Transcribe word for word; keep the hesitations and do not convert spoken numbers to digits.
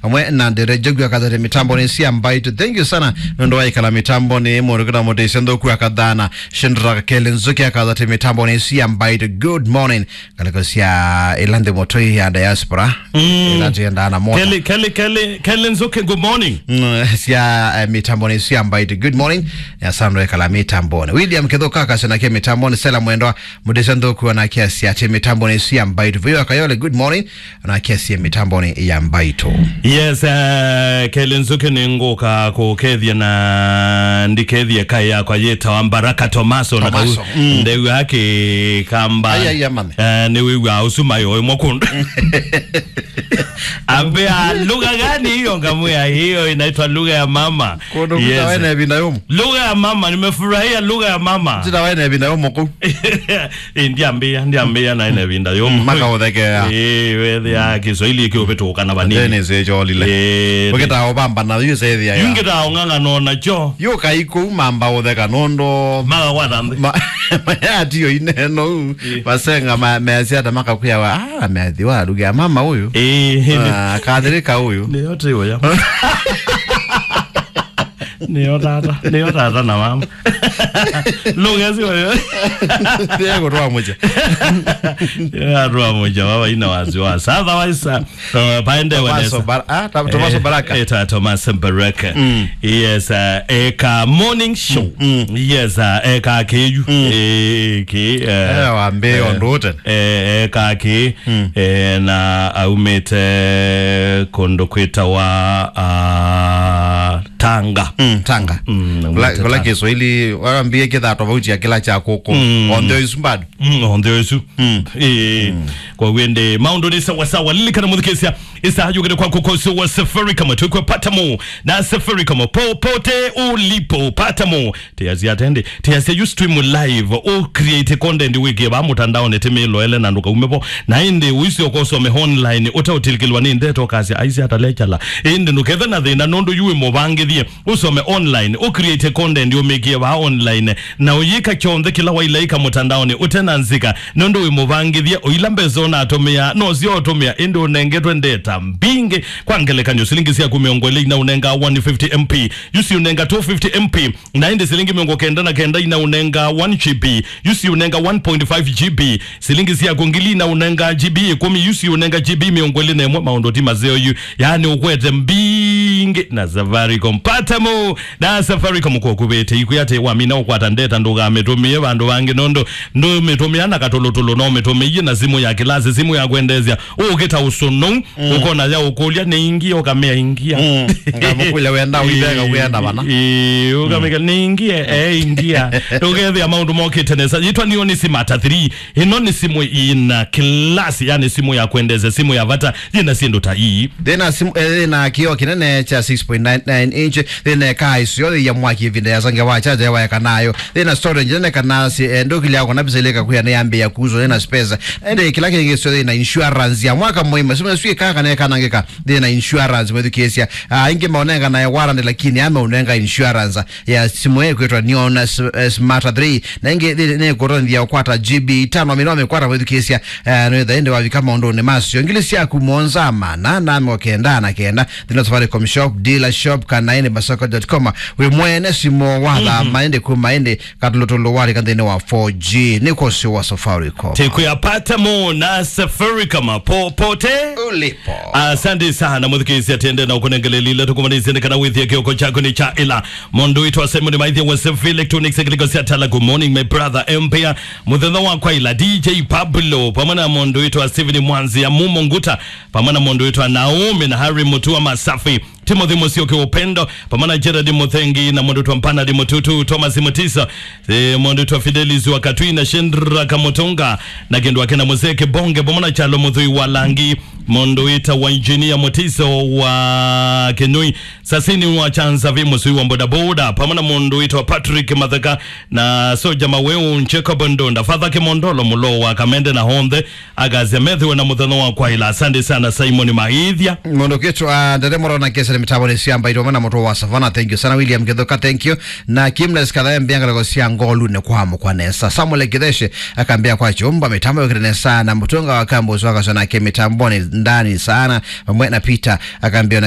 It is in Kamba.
Amwe na Ndere Njogu akathate mitamboni cia Mbaitũ. Thank you sana. Nũndũ wa ikala mitamboni, mũndũ kĩta mũtĩsya nthũku akathana. Shindraka Kele Nzuki akathate mitamboni cia Mbaitũ. Good morning. Ngalĩko sya ĩla nthĩ mũtũi ya diaspora. Mm. Ĩla tũendaa na moto. Kelly, Kelly, Kelly, Kelly Nzuki, good morning. Mm, sya, eh, mitamboni cia Mbaitũ. Good morning. Ya Sandra ekala mitamboni. William Kithuka akasya nake mitamboni. Sela Mwendwa, mũtĩsya nthũku anake asya atĩ mitamboni cia Mbaitũ. Vuyo Akayole, good morning. Anake asya mitamboni ya Mbaitũ. Yes, eh, Kelly Nzuki nĩngũka kũkethia na ndikethie kaĩ yakwa yĩtawa Mbaraka Tomaso na Tomaso, kau mm. Ndeu yake kamba. Ai, ai, amane. Eh, nĩ wĩw'a ũsu mayo ĩmwe kũndũ. Ambia, "Lugha gani hiyo?" Ngamwĩa, "Hiyo inaitwa lugha ya mama." Kũndũ kwĩtawa ene ĩvinda yũmũ. Lugha ya mama, nimefurahia lugha ya mama. Kwĩtawa ene ĩvinda yũmũ kũu. Eh, ndiambia, ndiambia na ene ĩvinda yũmũ. Mm, makaũthekea. Eh, wethĩa Kiswahili kĩũvĩtũka na vanini. Dennis echolile. Eh, ũkĩtaa ũvamba na yu sethia ya. Yu ngĩtaa ũng'ang'ana nakyo. Yu kai kũu mamba ũtheka nũndũ. Magakwata nthĩ. Ma-, mayatio ineno u. Eh. Masenga ma-, measya ata makakwĩa wa, "Ah, meathiwa lugha ya mama ũyũ." Eh. Ah, kathirika ũyũ. Nĩ yote ũya. Nĩyo tata, nĩyo tata na mama. Lugha sio yo. Ndio kutwa moja. Ya twa moja, baba ina wasiwasi. Otherwise, uh, uh, paende Tomaso wenesa. Bar-, ah, Ta-, Tomaso Eh, Baraka. Eh, ta Thomas Baraka. Mm. Yes, uh, eka morning show. Mm, mm. Yes, uh, eka keyu. Mm. Eh, ke, uh, Eh, wambe eh, ondote. Eh, eka ke, Mm. eh, na aumĩte kũndũ kwĩtawa, ah, Tanga. Mm, Tanga. Mm, kula, aumĩte kula Tanga. Kiswahili, wambie kĩthaa tofauti ya kĩla kya kũkũ. Mm. Onthe isu bado. Mm, onthe isu. Mm. Eh, mm. Kwa wende, maũndũ nĩ sawa sawa. Lilikana mũthikĩsya, ĩsaa yũkĩte kwa kũkosyo wa Safaricom, twĩkwe pata mo. Na Safaricom, popote ulipo, pata mo. Tiasya atendi, tiasya yu stream live, u create content wĩkĩe vaa mũtandaonĩ, ti mĩloele na ndũkaume vo. Na ĩndĩ ũisyoka ũsome online, ũteũtilikĩlwa nĩ ndeto, ũkasya, "Aisye atalechala." Ĩndĩ ndũkethe na thĩna, nũndũ yu wĩ mũvangĩthie, ũsome online, u create content ũmĩkĩe vaa online, na ũyĩka kyonthe kĩla wailaĩka mũtandaonĩ, ũte na nzika, nũndũ wĩ mũvangĩthie, o ila mbesa ũnatũmĩa, no syo ũtũmĩa, ĩndĩ ũnengetwe ndeta mbingĩ. Kwa ngelekany'o, silingi syaku mĩongo ĩlĩ ina ũnenga one fifty M P, yu si ũnenga two fifty M P. Na ĩndĩ silingi mĩongo kenda na kenda ina ũnenga one G B, yu si ũnenga one point five G B. Silingi syaku ngili ina ũnenga G B ĩkũmi, yu si ũnenga G B mĩongo ĩlĩ na ĩmwe. Maũndũ ti maseo yu, yaani ũkwete mbingĩ na Safaricom. Pata mo na Safaricom kwa kũvĩte ikwĩ atĩ wamina ũkwata ndeta ndũkamĩtũmĩe vandũ vangĩ, nũndũ ndũmĩtũmĩa na katũlũtũlũ, no ũmĩtũmĩie na simũ ya kĩlasi, simũ ya kwendeesya. Ũkĩta ũsũnũ, Mm. Ũkona ya ũkũlya, "Nĩ ingie?" Ũkamea, "Ingia." Mm. Ngamũkũlya, "Wenda ũitheka, wenda vana?" Ĩĩ, ũkameka, "Nĩ ingie?" "Eh, ingia." Ũkethĩa maũndũ mokĩte nesa. Yĩtwa nĩyo nĩ Smart three. Ĩno nĩ simũ ĩna class, yani simũ ya kwendeza, simũ ya vata, yĩna syĩndũ ta ii. Thĩna simũ, eh, thĩna kĩoo kĩnene kya six point nine nine inch, thĩna ĩkaa ĩseo ya mwaki ĩvinda ya sange wa chaja ya waya kanayo. Thĩna storage nene kana si, eh, ndũkĩlya kona bisa ileka kuya nĩ yambĩa kuzo nĩ na space. Ende kĩla kĩngĩ sio thĩna insurance ya mwaka mũima. Simũ ĩsu ĩkaa kana ĩkanangĩka, thĩna insurance mwĩthukĩĩsya. Ah, ingĩ maũnenga na warranty, lakini ame ũnenga insurance ya simũ ĩkwĩtwa Neon S-, eh, Smart three. Na ingĩ thĩ-, nĩ kũtonthia ũkwata G B itano mĩnoo mĩkwata mwĩthukĩĩsya. Eh, nĩwĩtha ĩndĩ wavika maũndũnĩ masyo. Ngili syaku mũonza mana na mĩongo kenda na kenda. Thĩna Safaricom Shop, Dealer Shop, kana ĩndĩ masoko dot com. Wĩ mwene simũ wathama ĩndĩ kuma ĩndĩ katũlũtũlũ walika nthĩnĩ wa four G. Nĩ kũsĩ wa Safaricom. Tekwĩapata mo na Safaricom popote ulipo. Asante sana mũthikĩĩsya, tiende na ũkũnengelelile tũkũmanĩsye nĩ kana wĩthie kĩoko kyaku nĩ kya ĩla. Mũndũ witũ wa Simon Maithia wa Sefi Electronics, kĩlĩko sya tala. Good morning, my brother Empire. Mũthenya wakwa ĩla D J Pablo, pamwe na mũndũ witũ wa Steven Mwanzi ya Mumo Nguta, pamwe na mũndũ witũ wa Naomi na Harry Mutua Masafi. Timothy Musyoki Upendo, pamwe na Gerard Muthengi, na mũndũ wĩtwa Bernard Mututu, Thomas Mutisa, eh, mũndũ wĩtwa Fidelis wa Katui na Shendra Kamutunga, na kĩndũ ake na Mzee Kibonge, pamwe na Chalo Muthui wa Langi, mũndũ wĩtawa Engineer Mutiso wa Kinui, Sasini wa Chanza, vi Musui wa bodaboda, pamwe na mũndũ wĩtwa Patrick Matheka, na Soja Maweu, Jacob Ndonda, Father Kimondolo, Mulo wa Kamende na onthe, akasya methĩwe na mũthenya wa kwaĩla. Asante sana, Simon Maithia. Mũndũ kwĩtwa Ndere Morona Kesa nĩ mĩtambo nĩ siamba itome na mũtwe wa Savana. Thank you sana, William Kithuka. Thank you. Na Kimles Kathae Mbianga loko sia ngolu nĩ kwa mukwa nesa. Samuel Kitheshe akambia kwa chumba mĩtambo yokire nesa na mũtunga wa kambo swaka sona ke mĩtamboni. ndani sana, vamwe na Peter, akambia ona